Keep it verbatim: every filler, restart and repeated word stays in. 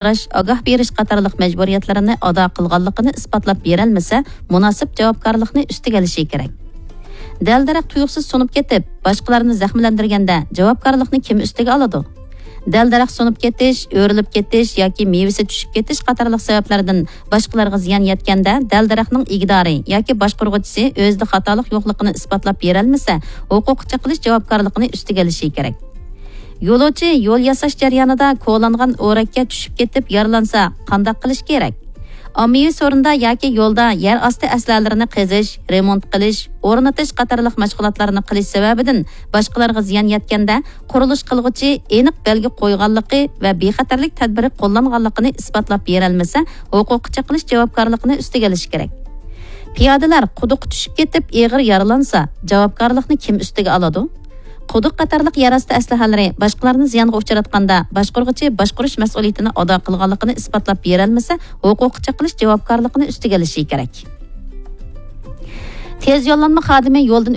چىقىرىش، ئاگاھ بېرىش قاتارلىق مەجبۇرىيەتلىرىنى ئادا قىلغانلىقىنى ئىسپاتلاپ بېرەلمىسە، مۇناسىپ جاۋابكارلىقنى ئۈستىگە ئېلىشى كېرەك. دەل-دەرەخ تۇيۇقسىز سۇنۇپ كېتىپ، باشقىلارنى زەخىملەندۈرگەندە، جاۋابكارلىقنى كىم ئۈستىگە ئالىدۇ؟ دەل-دەرەخ سۇنۇپ كېتىش، ئۆرۈلۈپ كېتىش ياكى مېۋىسى چۈشۈپ كېتىش قاتارلىق سەۋەبلەردىن باشقىلارغا زىيان يەتكەندە، دەل-دەرەخنىڭ ئىگىدارى ياكى باشقۇرغۇچىسى ئۆزىدە خاتالىق يوقلۇقىنى ئىسپاتلاپ بېرەلمىسە، ھوقۇققا چېقىلىش جاۋابكارلىقىنى ئۈستىگە ئېلىشى كېرەك. يولۇچى يول ياساش جەريانىدا كولانغان ئورەككە چۈشۈپ كېتىپ يارىلانسا، قانداق قىلىش كېرەك؟ ئاممىۋى سورۇندا ياكى يولدا يەر ئاستى ئەسلىھەلىرىنى قېزىش، رېمونت قىلىش، ئورنىتىش قاتارلىق مەشغۇلاتلارنى قىلىش سەۋەبىدىن باشقىلارغا زىيان يەتكەندە، قۇرۇلۇش قىلغۇچى ئېنىق بەلگە قويغانلىقى ۋە بىخەتەرلىك تەدبىرى قوللانغانلىقىنى ئىسپاتلاپ بېرەلمىسە، ھوقۇققا چېقىلىش جاۋابكارلىقىنى ئۈستىگە ئېلىشى كېرەك. پىيادىلەر قۇدۇققا چۈشۈپ كېتىپ ئېغىر يارىلانسا، جاۋابكارلىقنى كىم ئۈستىگە ئالىدۇ؟ قۇدۇق قاتارلىق يەر ئاستى ئەسلىھەلىرى باشقىلارنى زىيانغا ئۇچراتقاندا، باشقۇرغۇچى باشقۇرۇش مەسئۇلىيىتىنى ئادا قىلغانلىقىنى ئىسپاتلاپ بېرەلمىسە، ھوقۇققا چېقىلىش جاۋابكارلىقىنى ئۈستىگە ئېلىشى كېرەك. تېز يوللانما خادىمى يولدىن